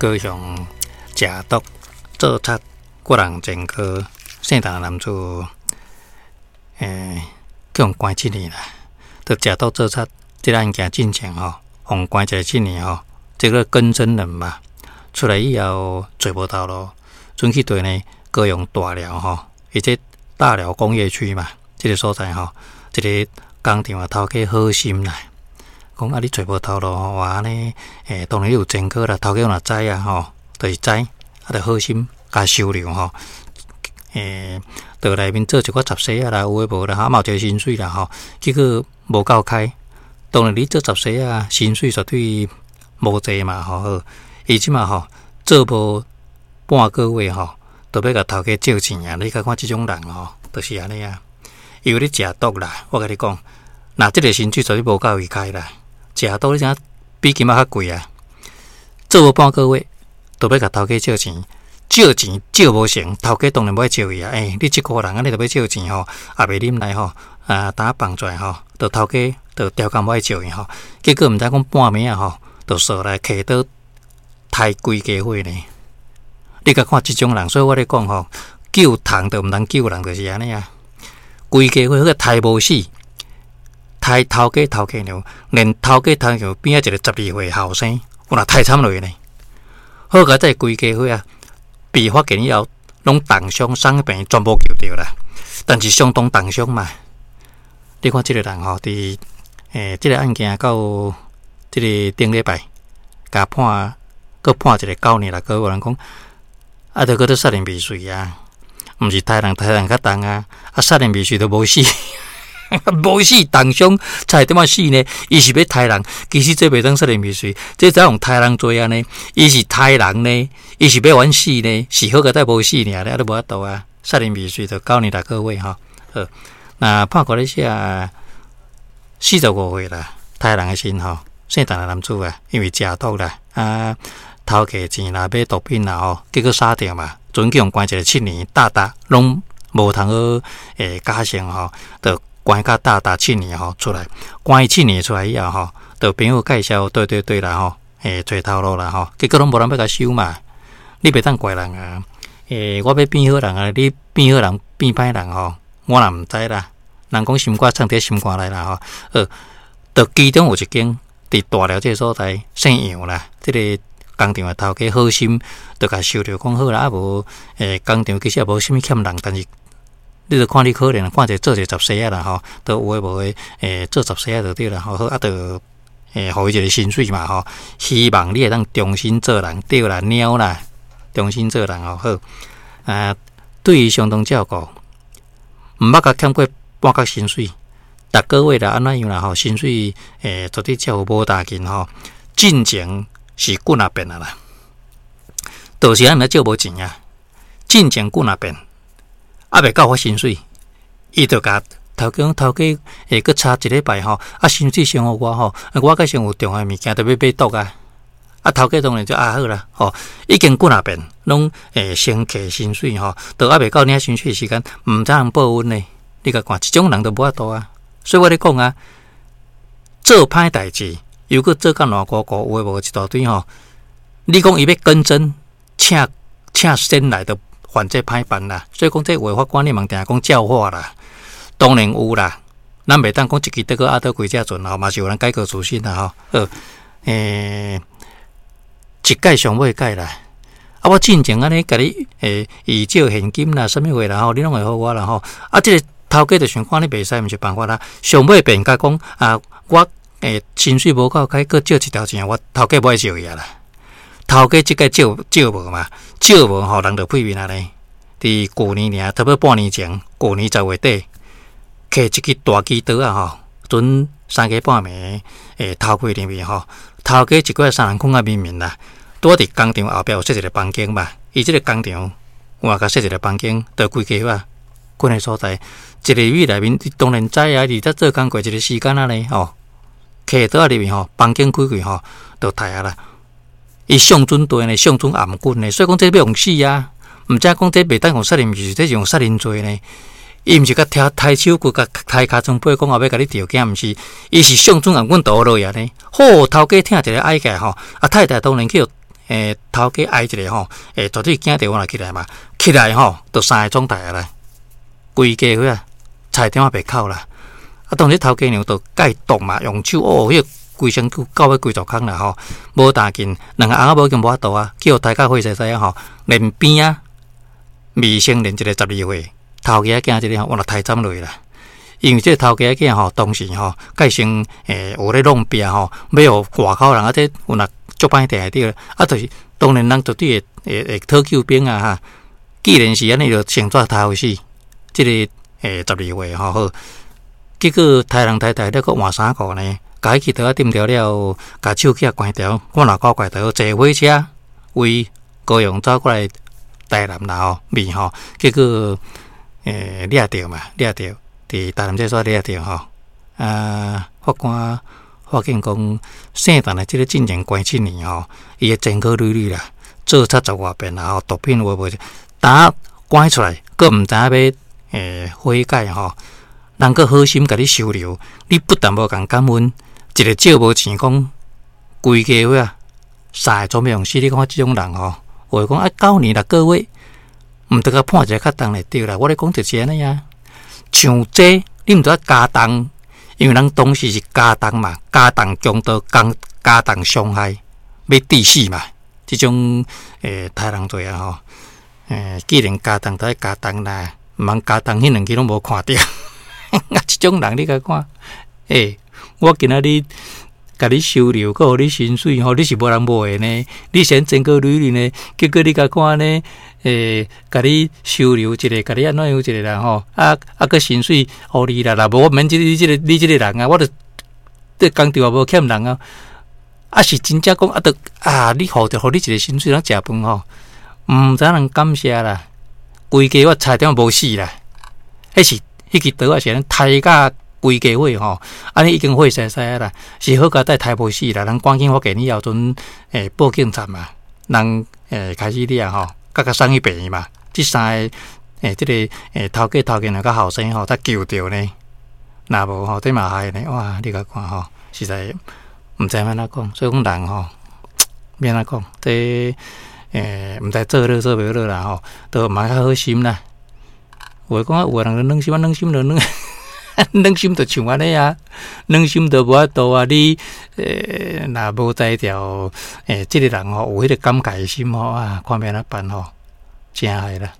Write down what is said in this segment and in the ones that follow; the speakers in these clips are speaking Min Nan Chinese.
高雄食毒做賊割人前科姓陳的男子，去予關七年啦。就食毒做賊這个案件進前吼，予關一个七年吼，這个更生人嘛，出來以後揣無頭路，轉去佗呢高雄大寮吼，伊這大寮工業區嘛，這个所在吼，一个工廠的頭家好心啦。講啊，你揣無頭路吼，哇按呢，當然你有前科啦，頭家若知啊吼，就是知，啊，就好心共收留吼，佇內面做一寡雜事仔啦，有的無啦，哈嘛有一个薪水啦吼，結果無夠開，當然你做雜事仔，薪水絕對無濟嘛吼，好，伊這馬吼做無半個月吼，就欲共頭家借錢啊！你共看這種人吼，就是按呢啊，伊有咧食毒啦，我共你講，若這个薪水絕對無夠伊開啦。食毒你知影比金仔較貴啊！做無半個月，就欲共頭家借錢，借錢借無成，頭家當然無愛借伊啊！欸，你這個人按呢就欲借錢吼，也袂忍來吼，啊，當放出來吼，就頭家就刁工無愛借伊吼，結果毋知講半暝仔吼，就踅來提刀刣規家伙呢！你共看這種人，所以我咧講吼，救蟲就毋通救人，就是按呢啊！規家伙彼個刣無死。刣頭家頭家娘，連頭家頭家娘邊仔一個12歲後生，有若刣慘落呢。好佳哉規家伙啊，被發現以後，攏重傷傷病全部救著啦。但是相當重傷嘛。你看這个人吼，佇這个案件到這个頂禮拜，共判，閣判一个9年6個月，有人講，啊，著閣咧殺人未遂啊，毋是刣人，刣人較重啊，啊，殺人未遂都無死。無死重傷才會點仔死呢？伊是欲刣人，其實這袂當殺人未遂，這怎用刣人罪按呢？伊是刣人呢？伊是欲冤死呢？是好佳哉無死爾咧，啊都無法度啊！殺人未遂就9年6個月吼。好，那判決咧寫45歲啦，刣人的時吼，姓陳的男子啊，因為食毒啦，啊偷摕錢啦，買毒品啦吼，結果殺著嘛，準去予關一个七年，大大攏無通好假釋吼，就關甲大大七年吼出來，關七年出來以後吼，就朋友介紹，對對對啦吼，揣頭路啦吼，結果攏無人欲共收嘛，你袂當怪人啊，我欲變好人啊，你變好人變歹人吼，我也毋知啦。人講心肝藏佇心肝內啦吼，就其中有一間佇大寮這个所在姓楊啦，這個工廠的頭家好心，就共收著講好啦，啊無工廠其實也無啥物欠人，但是。你著看你可憐，看一个做一个雜事仔啦吼，都有的無的，做雜事仔就對啦吼，好啊，就予伊一个薪水嘛吼，希望你會當重新做人，對啦，貓啦，重新做人吼，好啊，對伊相當照顧，毋捌共欠過半角薪水，逐個月啦按怎樣啦吼，薪水絕對照顧無大緊吼，進前是幾若變啊啦，就是按呢借無錢啊，進前幾若變。猶未到發薪水，伊就共頭家講，頭家會閣差一禮拜吼，啊薪水先予我吼，我閣先有重要的物件，著欲買毒啊！啊頭家當然就啊好啦，吼，已經幾若遍，攏會先摕薪水吼，都猶未到領薪水的時間，毋知通報恩呢？你共看，這種人都無法度啊！所以我咧講啊，做歹代誌，又閣做甲爛糊糊，有的無的一大堆吼。你講伊欲更正，請請神來都犯這歹辦啦，所以講這話法官你嘛定講教化啦，當然有啦，咱袂當講一支竹篙壓倒規隻船吼，嘛是有人改過自新啦吼。好，一屆上尾屆啦，啊，我進前按呢共你以借現金啦，啥物貨啦吼，你攏會予我啦吼。啊，這个頭家就想看你袂使，毋是辦法啦。上尾變甲講啊，我薪水無夠開，閣借一條錢，我頭家無愛借伊啊啦。頭家這屆借借無嘛，借無吼，人就屁面按呢。佇舊年爾，差不多半年前，舊年10月底，摕一支大支刀仔吼，陣三更半暝偷開入去吼，頭家一個月三人睏甲眠眠啦，拄仔佇工廠後壁有設一个房間嘛，伊這个工廠換共設一个房間，就規家伙睏的所在，一入去內面，你當然知啊，伊佇遮做工課一个時間按呢吼，摕刀仔入去吼，房間開開吼，就刣啊啦。伊上準對呢，上準頷頸呢，所以講這欲予死啊！毋知講這袂當用殺人未遂，這是用殺人罪呢。伊毋是共刣刣手骨，共刣尻川背，講後欲共你著驚，毋是，伊是上準頷頸倒落去呢。好，頭家聽一个哀叫吼，啊太太當然去予頭家哀一下吼，絕對驚著我來起來嘛，起來吼，就三个創台啊啦，規家伙啊，菜場仔袂哭啦。啊，當時頭家娘就佮毒嘛，用手哦，彼個規身軀到尾規座空啦吼，無大緊，兩个翁仔某已經無法度啊，叫刣甲血腥腥吼，連邊仔未成年一個12歲，頭家仔囝這個吼，原來刣斬落去啦。因為這個頭家仔囝吼，當時吼，佮先有咧弄壁吼，欲予外口人啊，這有若足歹定對，啊，就是當然人絕對會會會討救兵啊哈。既然是按呢，就先怎刣予死，這個12歲吼好，結果刣人刣刣了，閣換衫褲呢，共彼支刀仔釘著了，共手機仔關掉，看若古怪著坐火車為高雄走過來台南啦吼，面吼，結果掠著嘛，掠著。佇台南這所掠著吼，啊，法官發現講，姓陳的這个進前關七年吼，伊的前科累累啦，做賊十外遍啦吼，毒品有無，當關出來，閣毋知影欲悔改吼，人閣好心共你收留，你不但無共感恩，一个借無錢講，規家伙啊，三个總欲予死，你看這種人吼，有的講啊9年6個月，毋著共判一个較重的對啦，我咧講就是按呢啊。像這，你毋著愛加重，因為人當時是加重嘛，加重強盜，加加重傷害，欲致死嘛。這種刣人罪啊吼，既然加重，就愛加重啦，毋通加重，彼兩支攏無看著。啊，這種人你共看，我今仔日共你收留，閣予你薪水吼，你是無人愛的呢？你先前科累累呢？結果你共看呢？共你收留一下，共你按怎樣一个啦吼？啊啊，閣薪水予你啦，若無我免這你這个你這个人啊，我著這工廠也無欠人啊。啊是真正講啊，著啊，你予著予你一个薪水，通食飯吼，毋知人感謝啦。規家我差點無死啦。彼是彼支刀仔是按呢刣甲規家伙吼，按呢已經血腥腥啦，是好佳哉刣無死啦。人趕緊發現以後，陣報警察嘛，人開始掠吼。閣共送去病院嘛，這三个這个頭家頭家娘佮後生吼才救著呢。若無吼，這嘛害呢，哇！你共看吼，實在毋知按怎講，所以講人吼，欲按怎講，這毋知做好做袂好啦吼，都毋通較好心啦。有的講啊，有的人就軟心啊，軟心就軟，軟心就像按呢啊，軟心就無法度啊。你若無才調，這个人吼有彼個感慨心吼啊，看欲按怎辦吼，真害啦。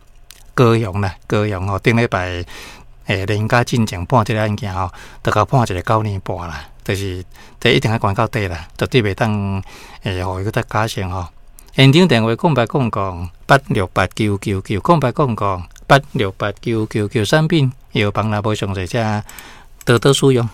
高雄啦，高雄吼，頂禮拜連假進前判這个案件吼，就共判一个9年半啦，就是這一定愛關到底啦，絕對袂當予伊閣再假釋吼。現場電話08008689990800868999，產品藥房若無詳細，請多多使用。